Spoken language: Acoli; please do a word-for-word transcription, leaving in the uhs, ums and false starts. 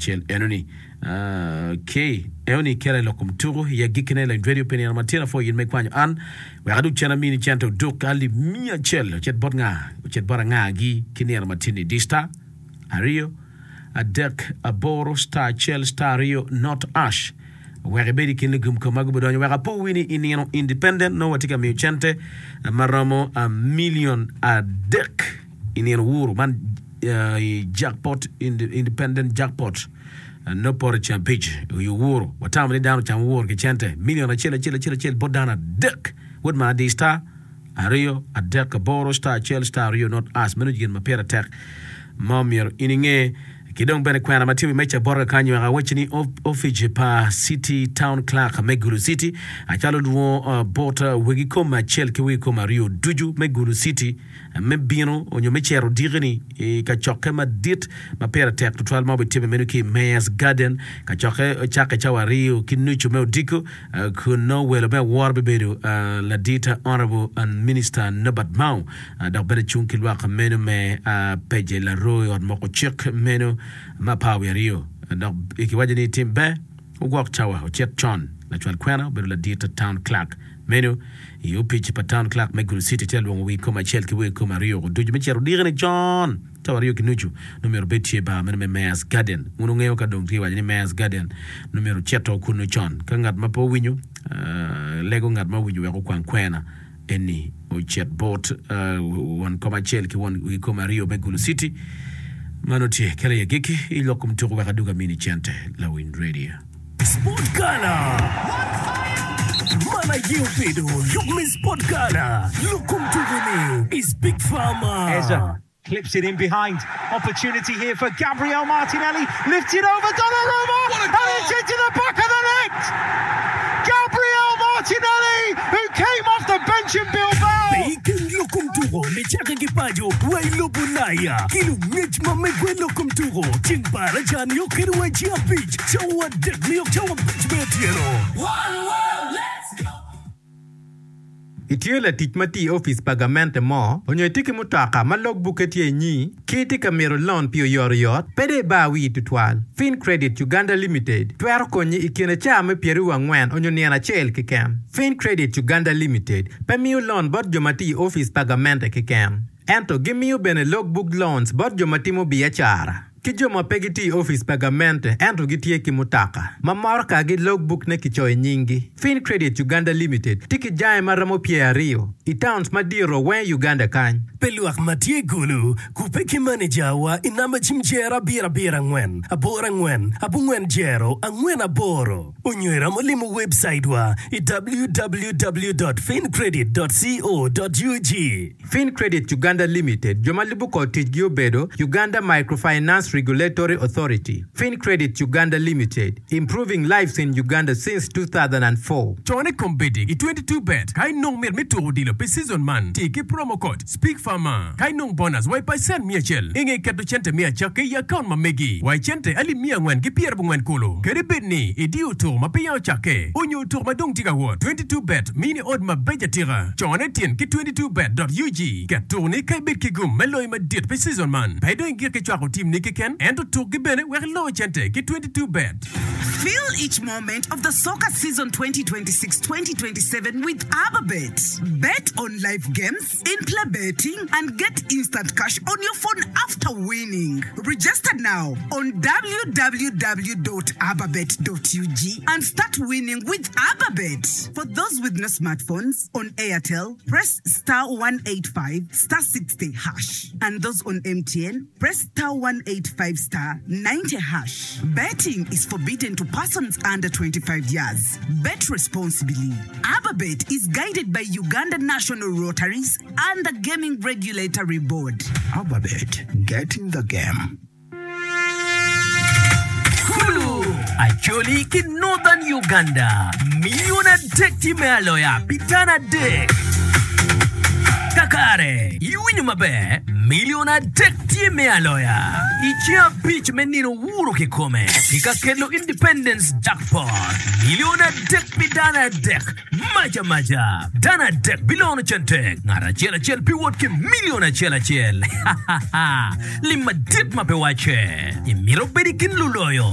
Cel enoni okay enoni kela i lok kom tuku i agikkine lawiny radio pi nino ma tyen apwoyo in ma ikwanyo an wek adug cen amini cente oduk alip miya acel ocit bot nga ocit bot angagi ki nino ma tye-ni di star aryo adek aboro star acel star aryo not ash wek ibed i kin lugum kom ma gubidonyo wek apo wi ni i nino independent nongo watye ka miyo cente ma romo million adek i nino wuru man i jackpot independent jackpot nongo poto i ceng abic i owuru watamo ni dano ocamo owuru ki cente million acel acel acel acel bot dano adek wod ma adi star aryo adek aboro star acel star aryo not as meno gin ma pire tek ma omyero in inge ki dong bene kwena ma tye i meja bota kakany wek awacci ni opic pa City Town Clerk me Gulu City acalo lwongo bot wegi kom acel ki wegi kom aryo ducu me Gulu City me bino onyo me cito odiki-ni i kacokke madit ma pire tek tutwal ma obitimme meno ki i Mayor's Garden kacokke cakke cawa aryo ki nucu me odiko kun nongo welo me awora bibedo ladit Honorable Minister Norbert Mao dok bene cung ki lwak meno me Peje Laroo i ot moko cik meno me apar wiye aryo dok kiwaco ni tim ber ogwok cawa ocit con lacwal kwena obedo ladit Town Clerk meno i opic pa Town Clerk me Gulu City tye lwongo wi kom acel ki wi kom aryo ducu me cito odiki-ni con cawa aryo ki nucu nongo myero obed tye bar meno me Mayor's Garden wun wungeyo ka dong tye waco ni Mayor's Garden nongo myero ocito kunu con ka ngat ma pe owinyo lego ngat ma owinyo wek okwang kwena eni ocit bot won kom acel ki won wi kom aryo me Gulu City mano tye kelo i agikki i lok kom tuko wek adug amini cente lawiny radio. Sport Gala! Man aye obedo yub me Sport Gala lok kom tuko-ni i Speak Farmer. Eza clips it in behind. Opportunity here for Gabriel Martinelli. Lifted over Donnarumma. And it's into the back of the net. Gabriel Martinelli, who came off the bench in Bilbao. Pe iken lok kom tuko nicakke ki paco wa i lobo Ulaya ki lungec ma megwe lok kom tuko ceng baraja nio kede wa i ceng abic cawa adek nio cawa abic me otyeno. Itye latic ma tye i opic pa gamente mo onyo itye ki mutoka ma logbukke tye inyi ki itye ka mito loan pi oyotoyot, pe dong ibar wii tutwal. Fin Credit Uganda Limited twero konyi i kine cawa me pyeraryo angwen onyo nino acel keken. Fin Credit Uganda Limited pe miyo loan bot jo ma tye i opic pa gamente keken, ento gimiyo bene logbook loans bot jo ma timo biacara ki jo ma pe gitye i opic pa gamente ento gitye ki mutoka ma motokagi logbook-ne kicoyo i nyinggi. Fin Credit Uganda Limited tye ki jange ma romo pyeraryo i towns madito weng i Uganda kany. Pi lwak ma tye i Gulu, kubbe ki manejawa i namba cim jero abiro abiro angwen aboro angwen abongwen jero angwen aboro onyo iromo limo webcaitwa i www dot fincredit dot co dot ug. Fin Credit Uganda Limited jo ma lubo kor ticgi obedo Uganda Microfinance Regulatory Authority, Fin Credit Uganda Limited, Improving Lives in Uganda since two thousand and four. Cone kombeddi i twenty two bet ka inong mit me tuko odilo pi season man ti ki promo code SPEAKFARMER ka inong bonus wa i pacent miya acel inge keto cente me acakke i akaunt ma megi wa i cente alip miya angwen ki pyerabongwen kulu. Kadi bed ni idiyo tuko ma peya ocakke onyo tuko ma dong tye ka wot, twenty two bet mini ot mabeco atika. Cone tyen ki twenty two bet dot ug ket tuko-ni ka ibed ki gum me loyo madit pi season man. Pe dong igik ki cwako tim ni keken ento tukgi bene wek ilo cente ki twenty two bet. Feel each moment of the soccer season twenty twenty-six twenty twenty-seven with Ababet. Bet on live games, in-play betting, and get instant cash on your phone after winning. Register now on www dot ababet dot ug and start winning with Ababet. For those with no smartphones, on Airtel, press star one eight five star sixty hash and those on M T N, press star one eight five star ninety hash. Betting is forbidden to persons under twenty-five years. Bet responsibly. Ababet is guided by Uganda National Rotaries and the Gaming Regulatory Board. Ababet, get in the game. Kulu, Acholi ki Northern Uganda milion adek tye me aloya pi dano adek. Kakare, iwinyo maber, milion adek tye me aloya i ceng abic me nino wuro kikome ki ka kelo Independence Jackpot. Milion adek pi dano adek. Mac amaca, dano adek bilono cente, ngat acel acel biwot ki milion acel acel. Lim madit ma pe wacce! Imito bedo i kin luloyo?